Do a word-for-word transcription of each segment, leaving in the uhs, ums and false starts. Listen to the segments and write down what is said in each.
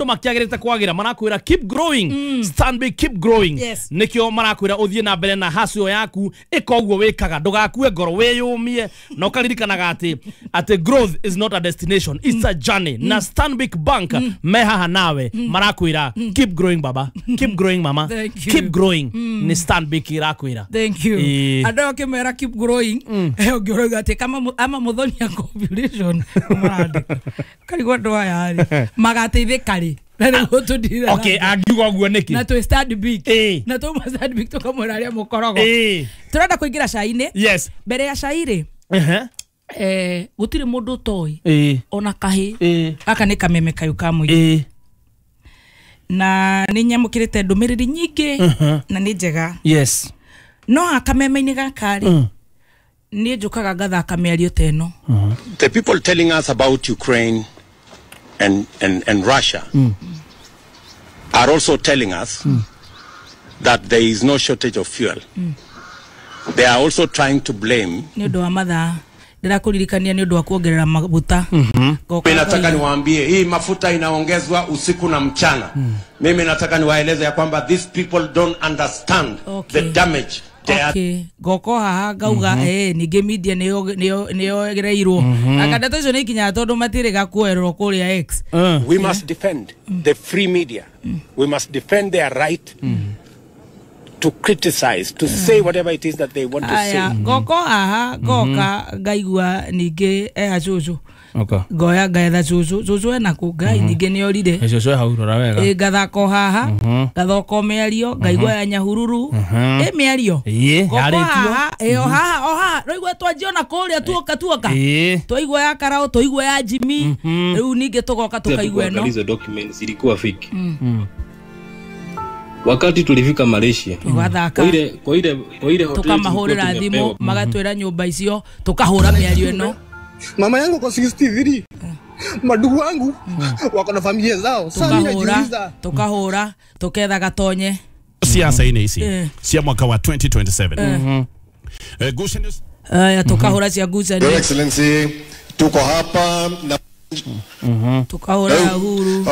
Makiagirite kwagira marakwira keep growing. mm. Stanbic keep growing. Yes. Nikio marakwira uthie na mbere na hacio yaku ikoguo wikaga ndugakue ngoro wiyumie na ukaririkanaga ati ati growth is not a destination, it's a journey. mm. Na Stanbic Bank mm. me haha nawe mm. marakwira mm. keep growing baba, keep growing mama, keep growing. mm. Ni Stanbic irakwira thank you. Ando kimera keep growing ungiuga ati kama ama muthonia population marandika karigwa ndo aya ri magateithika ri. Okay, angiuga guo niki na to Stanbic na to Stanbic tukamwira aria mukorogo turenda kuingira cai-ini. Yes, mbere ya cai ri eh gutiri mundu utoi ona kahi aka ni kameme kayu ka muingi na ni nyamukirite ndumiriri nyingi na ni njega. Yes, no akameme-ini gaka ri ni njukaga ngathaka miario ta ino. The people telling us about Ukraine and and and Russia mm. are also telling us mm. that there is no shortage of fuel. Mm. They are also trying to blame. Ni undu wa mathaa ndirakuririkania ni undu wa kuongerera maguta. Mimi nataka niwaambie hii mafuta inaongezwa usiku na mchana. Mm. Mimi nataka niwaeleze ya kwamba these people don't understand okay. the damage. Okay, goko haha ngauga eh ninge media niyo niyo niyo akanda icio ni ikinya tondu matirega kuerwo kuria X. We must defend the free media. We must defend their right to criticize, to say whatever it is that they want to say. Goko haha goka ngaigua ninge eh cucu. Okay. Ngoya ngaetha cucu cucu ena ku ngai ninge ni orire cucu hau rora wega eh ngathako haha ngathoko miario ngaigua ya Nyahururu eh miario yarĩtio eh o haha o haha rũigua twanjiona kũrĩa tuoka tuoka twaigua ya Karao twaigua ya Jimmy rĩu ninge tugoka tukaigua eno. Hizo documents zilikuwa fake. Wakati tulifika Malaysia tugathaka kwa ile kwa ile kwa ile hoteli tukamahũrĩra thimũ magatwĩra nyũmba icio tukahũra miario ĩno. Mama yangu kwa sixty-three. Madugu wangu wako na familia zao. Sasa tukahura tukahura tuketha gatonye. Siasa ine ici cia mwaka wa twenty twenty-seven. Mhm. Eh Gushen eh tukahura cia Gushen. Your Excellency tuko hapa na mhm tukahura Uhuru.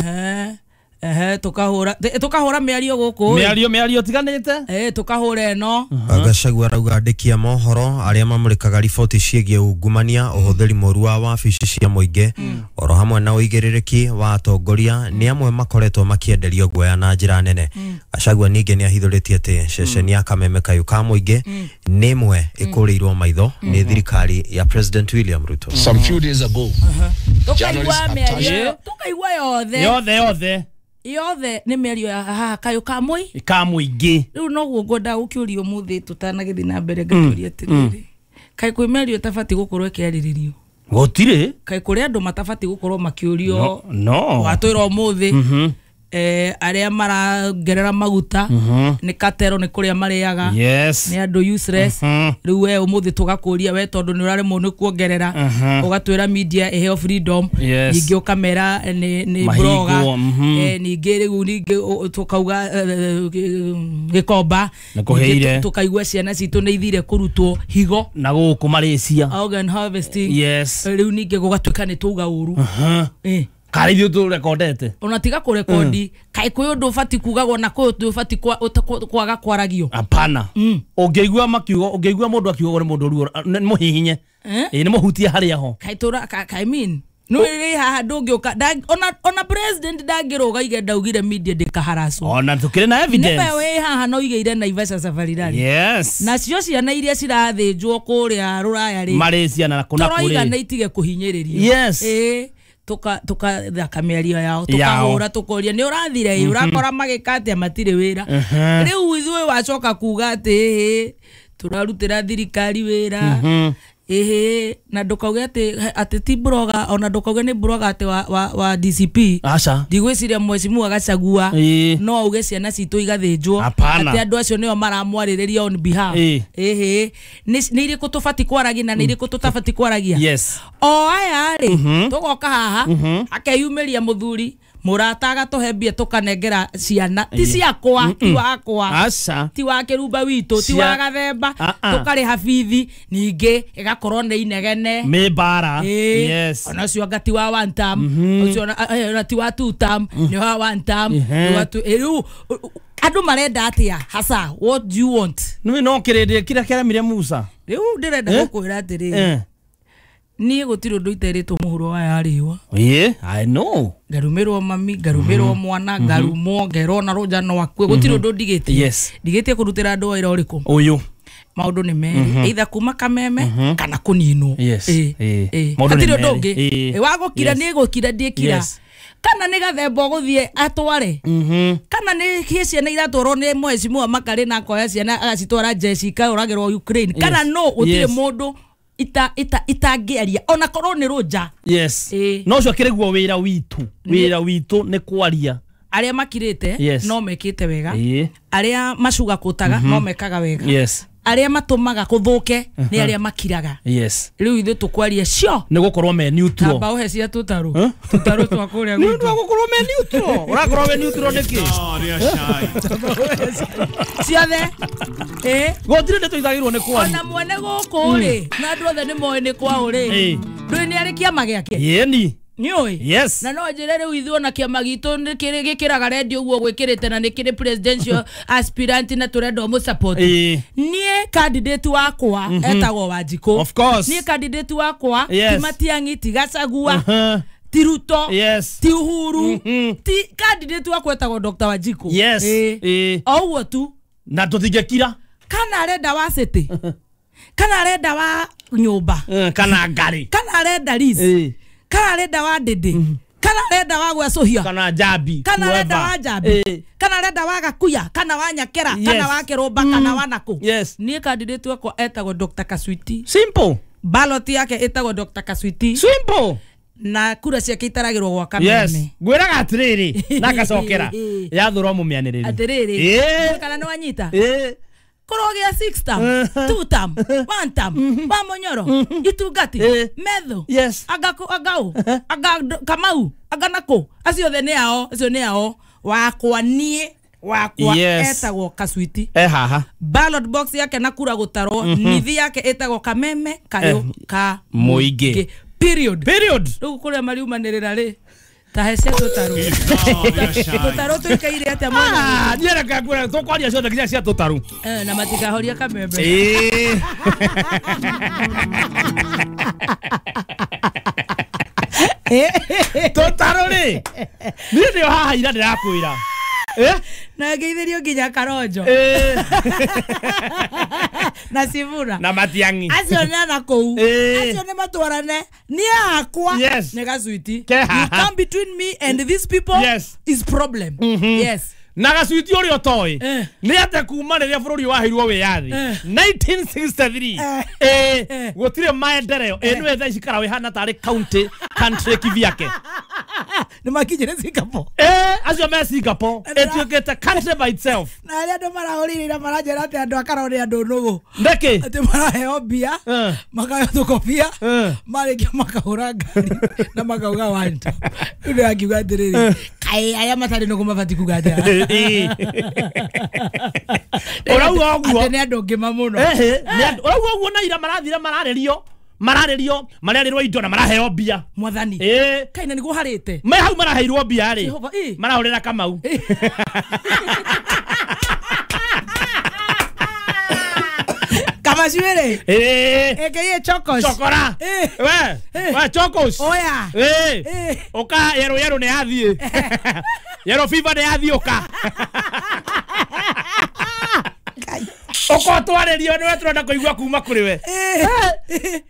Eh eh tukahura tukahura miario guku miario miario tiganite eh tukahura eno. Gachagua arauga andĩki a mohoro arĩa mamũrĩkaga riboti ciĩgiĩ ungumania ũhũthĩri mũru wa wabici cia mũingĩ oro hamwe na ũigĩrĩrĩki wa atongoria nĩ amwe makoretwo makĩenderio guoya na njĩra nene. Gachagua ningĩ nĩ ahithũrĩtie atĩ ceceni ya Kameme Kayũ ka mũingĩ nĩ ĩmwe ĩkũrĩirwo maitho nĩ thirikari ya President William Ruto. Some few days ago tukaigua mĩario tukaigua yothe yothe yothe yothe ni mĩario ya haha kayũ ka mũi ka mũingĩ. Rĩu noguo ngwenda gũkĩũria ũmũthĩ tũtanagĩthiĩ na mbere ngakĩũria atĩrĩrĩ kaĩ kwĩ mĩario ĩtabatiĩ gũkorwo ĩkĩarĩrĩrio? Gũtirĩ. Kaĩ kũrĩ andũ matabatiĩ gũkorwo makĩũrio? No watwĩra ũmũthĩ eh arĩa marangerera maguta nĩ katero nĩ kũrĩa marĩaga nĩ andũ useless. Rĩu we ũmũthĩ tũgakũria we tondũ nĩ ũraremwo nĩ kuongerera ũgatwĩra media ĩheo freedom ningĩ ũkamera nĩ nĩ blogger eh ningĩ rĩu ningĩ tũkauga Gĩkomba tũkaigua ciana citũ nĩ ithire kũrutwo higo na gũkũ Malaysia organ harvesting. Yes, rĩu ningĩ gũgatuĩka nĩ tũuga ũru eh kari ithuĩ tũrekondete ona tiga kũrekondi kaĩ kwĩ ũndũ ũbatiĩ kugagwo na kwĩ ũndũ ũbatiĩ kwaga kwaragio? Hapana. Ũngĩigua makiugo ũngĩigua mũndũ akiuga nĩ mũndũ ruo nĩ mũhihinye ĩ nĩ mũhutie harĩa ho kaĩ tũra I mean no rĩ haha ndũngĩũka ona ona president ndangĩrũga ige ndaugire media ndĩkaharacwo ona tũkĩrĩ na evidence nĩwe wĩ haha no igĩire Naivasha Safari Rally. Yes, nacio ciana iria cirathĩnjwo kũrĩa rũraya rĩ Malaysia na kũna kũrĩ tũroiga nĩ itige kũhinyĩrĩrio. Yes, ĩ tuka tukathaka mĩario yao tukahũra tukoria nĩ ũrathire ĩ ũrakora magĩka atĩa matirĩ wĩra. Rĩu ithuĩ wacoka kuga atĩ ĩhĩ tũrarutĩra thirikari wĩra ĩhĩ na ndũkauge atĩ atĩ ti blogger ona ndũkauge nĩ blogger atĩ wa, wa, wa D C P. Aca ndigwĩciria mheshimiwa Gachagua no auge ciana citũ igathĩnjwo atĩ andũ acio nĩo maramwarĩrĩria on behalf. Ĩhĩ nĩ irĩkũ tũbatiĩ kwaragia na nĩ irĩkũ tũtabatiĩ kwaragia? Yes, o aya rĩ tũgoka haha akeyumĩria mũthuri murata agatuhe mbia tukanengera ciana ti ciakwa ti wakwa aca ti wa kirumba witu ti wa gathemba tukariha bithi ningi Akorwo nĩ inegene Nĩ mbara. Yes. Ona ũcio anga ti wa one term, ũcio ona ti wa two term, nĩ wa one term, nĩ wa two. Rĩu andũ marenda atĩa hasa? What do you want? Nĩ no kĩrĩndĩ kĩrĩa kĩaremire Musa. Rĩu ndĩrenda gũkwĩra atĩrĩrĩ, niĩ gũtirĩ ũndũ iterĩtwo mũhuro wa yarĩwa. Yeah, I know. Ngarumĩrwo mami, ngarumĩrwo mwana, ngarumwo, ngerwo na rũnja no akue. Gũtirĩ ũndũ ndigĩtie. Yes. Ndigĩtie kũrutĩra andũ wĩra ũrĩkũ? Ũyũ. Maũndũ nĩ merĩ, either kuma Kameme kana kũninwo. Yes. Hatirĩ ũndũ ũngĩ. Wa gũkira nĩ gũkira ndiĩkira. Kana nĩ gathemba ũgũthiĩ atware. Kana nĩ ciana iratwarwo nĩ mheshimiwa Makarĩ na akoya ciana agacitwara jeshi ikaũragĩrwo Ukraine. Kana no gũtirĩ mũndũ ita ita itangĩaria ona korwo nĩ rũnja. Yes. No ũcio akĩrĩguo wĩra witũ. Wĩra witũ nĩ kwaria. Arĩa makirĩte no mekĩte wega. Arĩa macugakũtaga no mekaga wega. Yes. Arĩa matũmaga kũthũke nĩ arĩa makiraga. Yes. Rĩu ithuĩ tũkwaria cio nĩ gũkorwo me neutral. Namba ũhe cia tũtarũ. Tũtarũ twa kũrĩa gwitũ. Nĩ ũndũ wa gũkorwo me neutral. Ũrakorwo we neutral nĩkĩ? Ciothe. Eh. Gũtirĩ ndeto itagĩrĩirwo nĩ kwaria. Ona mwene gũkũ rĩ, na andũ othe nĩ moĩ nĩ kwao rĩ. Ndũĩ nĩ arĩ kĩama gĩake? Ĩni. Nĩũĩ? Yes. Na no njĩre rĩu ithuĩ ona kĩama gitũ nĩ kĩrĩ gĩkĩraga redio ũguo gwĩkĩrĩte na nĩ kĩrĩ presidential aspirant na tũrenda ũmũ-support. Niĩ candidate wakwa etagwo Wanjikũ. Of course. Niĩ candidate wakwa ti Matiang'i, ti Gachagua, ti Ruto, yes, ti Uhuru, ti candidate wakwa etagwo Doctor Wanjikũ. Yes. O ũguo tu. Na tũtingĩkira. Kana arenda wa city. Kana arenda wa nyũmba. Kana ngari. Kana arenda lease. Kana arenda wa ndĩndĩ. Kana arenda wa gwecũhia. Kana njambi. Kana arenda wa njambi. Kana arenda wa Gakuya. Kana wa Nyakera. Kana wa Kĩrũmba. Kana wa nakũ. Yes. Niĩ candidate wakwa etagwo Doctor Kaswiti. Simple. Ballot yake etagwo Doctor Kaswiti. Simple. Na kura ciake itaragĩrwo gwa Kameme. Yes. Ngwĩraga atĩrĩrĩ na ngacokera. Yathũra mũmĩanĩrĩri. Atĩrĩrĩ. Kana nĩ wanyita? Korwo gĩa six term, two term, one term, wa Munyoro, Itungati, Methu, yes, aga agau, aga Kamau, aga nako, acio othe nĩ ao, acio nĩ ao, wakwa niĩ, wakwa etagwo Kaswiti. Eh haha. Ballot box yake na kura gũtarwo, nithi yake ĩtagwo Kameme Kayũ ka Mũingĩ. Period. Period. Rĩu kũrĩa mariumanĩrĩra rĩ, ta he cia tũtarũ. Tũtarũ tũikaire atĩa mwana? Ah, niĩ reke ngwĩre tũkwaria ciothe nginya cia tũtarũ. Eh, na matikahoria Kameme. Ĩĩ. Tũtarũ rĩ, niĩ nĩo haha ira ndĩrakwĩra. Eh? Na ngeithĩrio nginya Karonjo. Eh. Na Sivura. Na Matiang'i. Acio nĩ na kũu. Acio nĩ matwarane. Niĩ akwa nĩ Gaswiti. You come between me and these people, yes, is problem. Yes. Na Gaswiti ũrĩa ũtoĩ nĩ atĩ kuma rĩrĩa bũrũri waheirwo wĩyathi nineteen sixty-three, eh, gũtirĩ maendeleo. Ĩ nĩwe thaa ici Karaũ ĩhana tarĩ county country kivyake. Nĩ makinyire Singapore. Eh, acio me Singapore ĩtuĩkĩte country by itself. Na arĩa andũ marahũrire ira maranjĩra atĩ andũ a Karaũ nĩ andũ nũgũ. Nĩkĩ? Atĩ maraheo mbia, makaheo tũkobia, marĩkia makahũra ngari na makauga one term. Rĩu ndĩrakiuga atĩrĩrĩ, kaĩ arĩa matarĩ nũgũ mabatiĩ kuga atĩa? Ũrauga ũguo atĩ nĩ andũ ngĩma mũno. Ũrauga ũguo na ira marathire mararĩrio mararĩrio mararĩrwo indo na maraheo mbia. Mwathani. Ĩĩ. Kaĩ na nĩguo harĩte. Me hau maraheirwo mbia rĩ, marahũrĩra Kamau. Kamacuĩrĩ. Ĩĩ. A K A Chokos. Chokora. We, we Chokos. Oya. Ĩĩ. Ũka yerũ yerũ nĩ yathiĩ. Yerũ fever nĩ yathiĩ ũka. Ũka twarĩrio nĩwe tũrenda kũigua kuma kũrĩ we.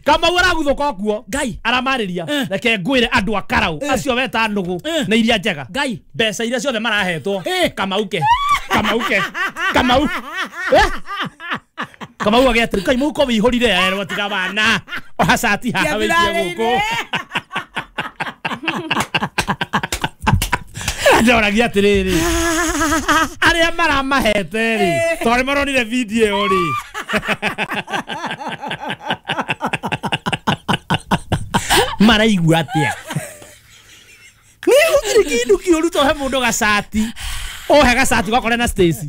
Kamau araguthũka kuo. Ngai. Aramarĩria. Reke ngwĩre andũ a Karaũ acio weta nũgũ na iria njega. Ngai. Mbeca iria ciothe marahetwo Kamau ke. Kamau ke. Kamau. Kamau agĩatĩrĩ kai mũhuko wĩihũrire erwo tiga bana. Oha cati haha wĩikie gũkũ. Ndoragia atĩrĩrĩ, arĩa maramahete rĩ, tondũ nĩmaronire video ĩyo rĩ, maraigua atĩa? Nĩ gũtirĩ kĩndũ kĩũru to he mũndũ gacati. Ohe gacati gakore na Stacy.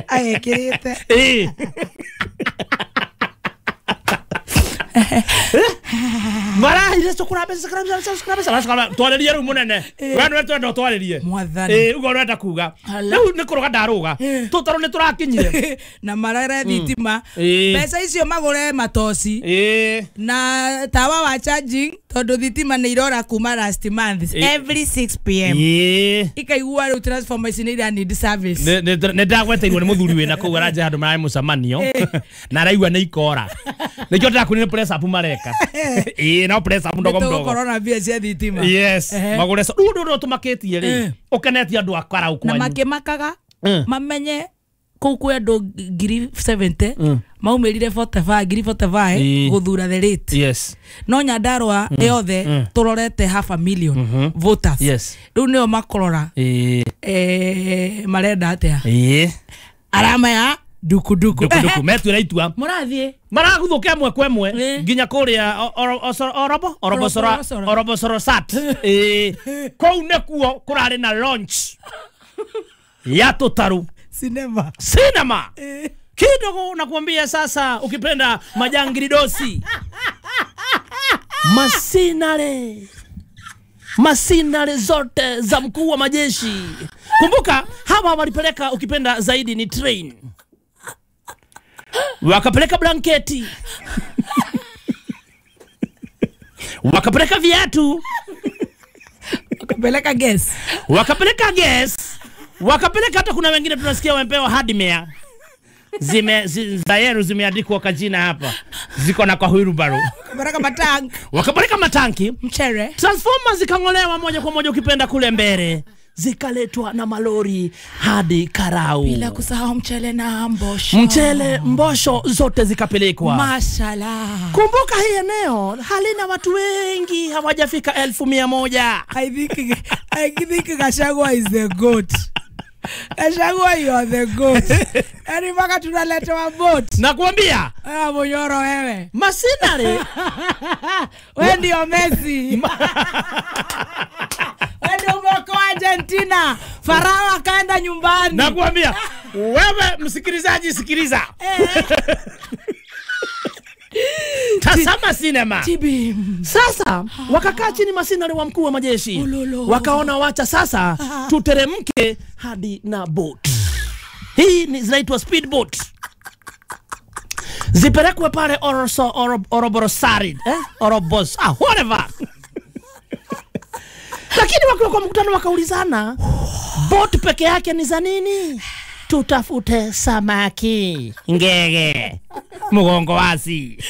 Agekĩrĩte. Ĩĩ. Marahire cukura mbeca cukura mbeca cukura mbeca cukura twaririe riu munene we nwe twenda twaririe eh ugo urenda kuga riu ni kuruga ndaruga tutaru ni turakinyire na marere thitima mbeca icio magure matoci na tawa wa charging tondu thitima ni irora kuma last month every six p m ikaigua riu transformer ici ni ira need service. Ni ndagweteirwo ni muthuri wina kuu aranje handu marari mucemanio na araigua ni ikora nikio ndirakwĩrire press up mareka ĩĩ no press up ndogo mdogo corona mbia cia thitima. Yes magure so rĩu ũndũ ũtũmakĩtie rĩ ũkenetie andũ a Karau kwanyu na makĩmakaga mamenye kũu kwĩ andũ ngiri seventy maumĩrire forty-five ngiri forty-five gũthura the rate. Yes no Nyandarua yothe tũrorete half a million voters. Yes rĩu nĩo makorora eh marenda atĩa ĩĩ arama ya duku duku duku duku metuira itua murathie maraguthũka ĩmwe kwa ĩmwe nginya kũrĩa orobo orobosoro orobosoro sat ĩĩ kũu nĩkuo kũrarĩ na launch ya tũtarũ cinema cinema kidogo nakuambia sasa ukipenda majangili dosi masinare masinare zote za mkuu wa majeshi. Kumbuka hawa walipeleka ukipenda zaidi ni train, wakapeleka blanketi wakapeleka viatu, wakapeleka gas, wakapeleka gas, wakapeleka hata kuna wengine tunasikia wamepewa hardware zime zi, zayeru zimeandikwa kwa jina hapa ziko na kwa wheelbarrow. Wakapeleka matanki, wakapeleka matanki mchere, transformers zikangolewa moja kwa moja ukipenda kule mbele zikaletwa na malori hadi Karau, bila kusahau mchele na mbosho, mchele mbosho zote zikapelekwa. Mashallah. Kumbuka hii eneo halina watu wengi, hawajafika elfu mia moja. I think I think Gachagua is the goat. Gachagua you are the goat. Yaani mpaka tunaletewa boat. Nakwambia. Ah Munyoro wewe. Masinare. Wewe ndio Messi. Wewe ndio umeokoa Argentina. Farao akaenda nyumbani. Nakwambia. Wewe msikilizaji sikiliza. Tazama sinema. Tibi. Sasa wakakaa chini masinare wa mkuu wa majeshi. Wakaona wacha sasa tuteremke hadi na boat. Hii ni zinaitwa speedboat. Zipelekwe pale Oroso Oroborosari, eh? Orobos, ah whatever. Lakini wakiwa kwa mkutano wakaulizana, boat peke yake ni za nini? Tutafute samaki, ngege, mgongo wazi.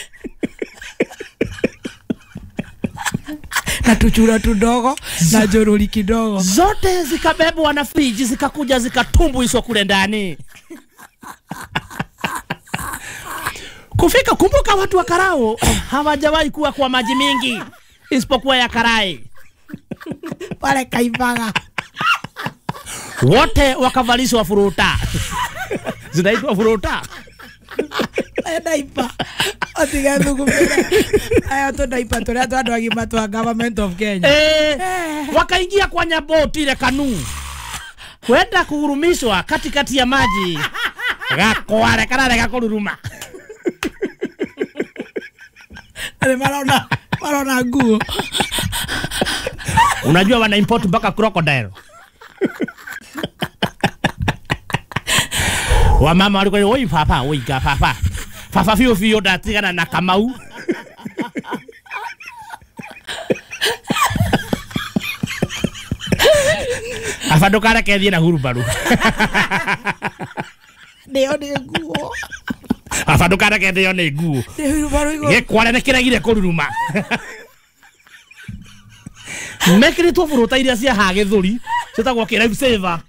Na tuchura tudogo na joroli kidogo. Zote zikabebwa na friji zikakuja zikatumbuizwa kule ndani. Kufika, kumbuka watu wa Karau hawajawahi kuwa kwa maji mingi isipokuwa ya karai. Pale Kaibaga. Wote wakavalishwa furuta. Zinaitwa furuta. Daipa. Otiga thukumira. Aya to daipa turia twa andu agima twa government of Kenya. Eh, wakaingia kwa nyaboti ile kanu. Kwenda kuhurumishwa katikati ya maji. Gakware kararega kururuma. Ale marona marona nguo. Unajua wana import mpaka crocodile. Wamama walikuwa oi papa oi ga papa. Papa fio fio ndatigana na Kamau. Afa ndukareke thiĩ na hurubaru. Ndio ni nguo. Afa ndukareke thio ni nguo. Nĩ hurubaru igũrũ. Gĩkware nĩ kĩregire kũruruma. Mekĩrĩtwo buruta iria cia ha gĩthũri ciĩtagwo kĩ life saver.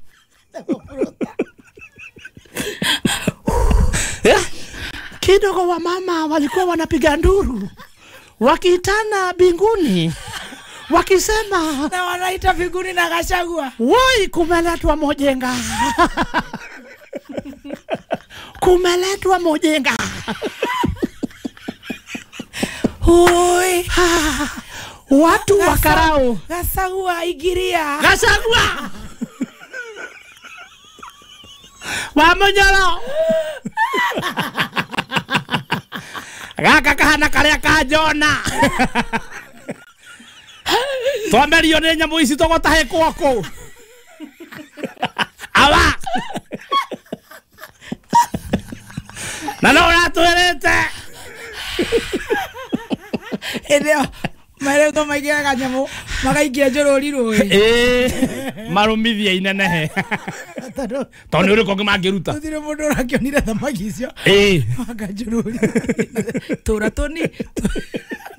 Kidogo wa mama walikuwa wanapiga nduru wakiitana binguni wakisema, na wanaita binguni na Gachagua, woi kumeletwa mojenga. Kumeletwa mojenga. Hoi. Watu wa Karau. Gachagua igiria. Gachagua. Wa Munyoro. Gaka kahana karia ka Jona. Twamerio nĩ nyamũ ici tũgũtahĩkwo kũ. Awa. Na no ũratwĩrĩte. Hĩndĩ ĩyo maretwo maigĩraga nyamũ magaikia njũrũri rũĩ. Ĩĩ marũmithia inenehe. Tondũ nĩ ũrĩkũ ũngĩ mangĩruta. Gũtirĩ mũndũ ũrakĩonire thamaki icio. Ĩĩ. Manga njũrũri. Tũra tũni.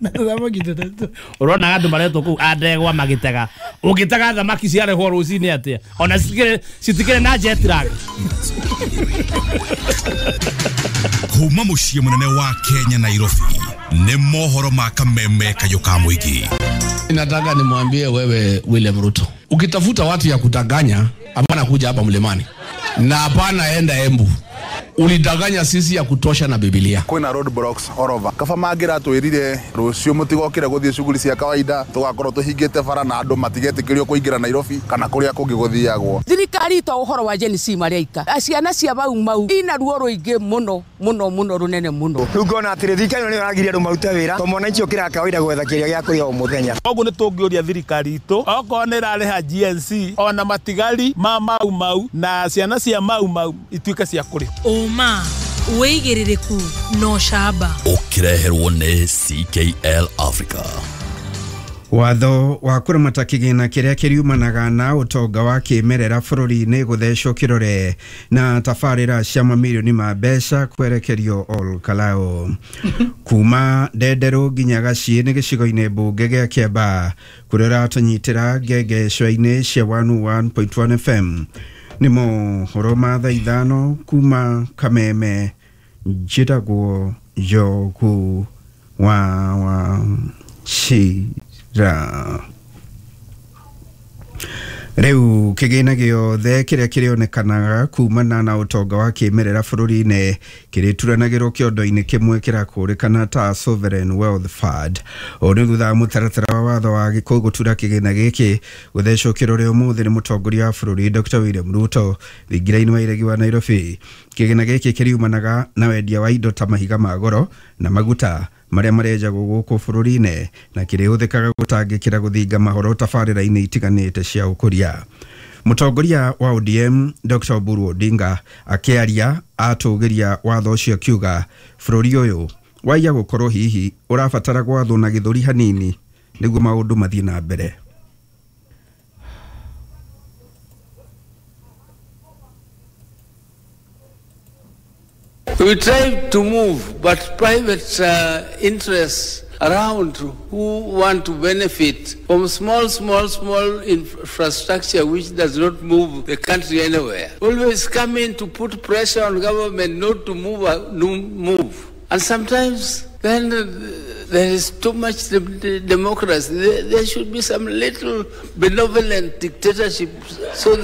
Na thamaki tũtatũ. Ũrona andũ maretwo kũu a ndegwa magĩtega. Ũngĩtega thamaki ciarehwo rũcinĩ atĩa? Ona citikĩrĩ citikĩrĩ na jet lag. Kuma mũciĩ mũnene wa Kenya Nairobi nĩ mohoro ma kameme kayũ ka mũingĩ. Nataka nimwambie wewe William Ruto, ukitafuta watu ya kutanganya, hapana kuja hapa mlimani na hapana enda Embu. Ulidanganya sisi ya kutosha na Biblia. Kwina road blocks all over. Kaba mangiratwirire rucio mutigokire guthie shughuli cia kawaida tugakorwo tuhingite bara na andu matigetikirio kuingira Nairobi kana kuria kungi guthiagwo. Thirikari to uhoro wa Gen Z mareika. Ciana cia Mau Mau ina ruo ruingi muno muno muno runene muno. Riu ngona atiri thirikari niyo iragiria andu marute wira to mwananchi ukira kawaida gwetha kiria gia kuria o muthenya. Koguo ni tungiuria thirikari itu okorwo ni irariha G N C ona matigari ma Mau Mau na ciana cia Mau Mau ituike cia kurihwo. Ũma wĩigĩrĩrĩku no camba ũkĩreherwo nĩ C K L Africa. Watho wa kũramata kĩgĩna kĩrĩa kĩriumanaga na ũtonga wa kĩmerera bũrũri-inĩ gũthecwo kĩrore na tabarĩra cia mamirioni ma mbeca kwerekerio Ol Kalou. Kuma Ndenderũ nginya Gaciĩ nĩ gĩcigo-inĩ mbunge gĩa Kĩambaa kũrĩa ũratũnyitĩra ngengecwa-inĩ cia one oh one point one F M. Nĩ mohoro ma thaa ithano kuma Kameme, njĩtagwo Njogu wa Wachira. Rĩu kĩgĩna gĩothe kĩrĩa kĩrĩonekanaga kumana na ũtonga wa kĩmerera bũrũri-inĩ kĩrĩturanagĩrwo kĩondo-inĩ kĩmwe kĩrakũrĩkana ta Sovereign Wealth Fund. Ũũ nĩ thutha wa mũtaratara wa watho wa gĩkũyũ gũtura kĩgĩna gĩkĩ gũthecwo kĩrore ũmũthĩ nĩ mũtongoria wa bũrũri Doctor William Ruto thingira-inĩ wa iregi wa Nairobi. Kĩgĩna gĩkĩ kĩriumanaga na wendia wa indo ta mahiga ma goro na maguta marĩa marenjagwo gũkũ bũrũri-inĩ na kĩrĩhũthĩkaga gũtangĩkĩra gũthinga mahoro tabarĩra-inĩ itiganĩte cia ũkũria. Mũtongoria wa O D M Doctor Oburu Odinga akĩaria atũgĩria watho ũcio akiuga bũrũri ũyũ waiya gũkorwo hihi ũrabatara gwathwo na gĩthũri hanini nĩguo maũndũ mathiĩ na mbere. We try to move, but private uh, interests around who want to benefit from small, small, small infrastructure which does not move the country anywhere. Always come in to put pressure on government not to move, uh, no move. And sometimes then uh, there is too much de de democracy. There, there should be some little benevolent dictatorship so,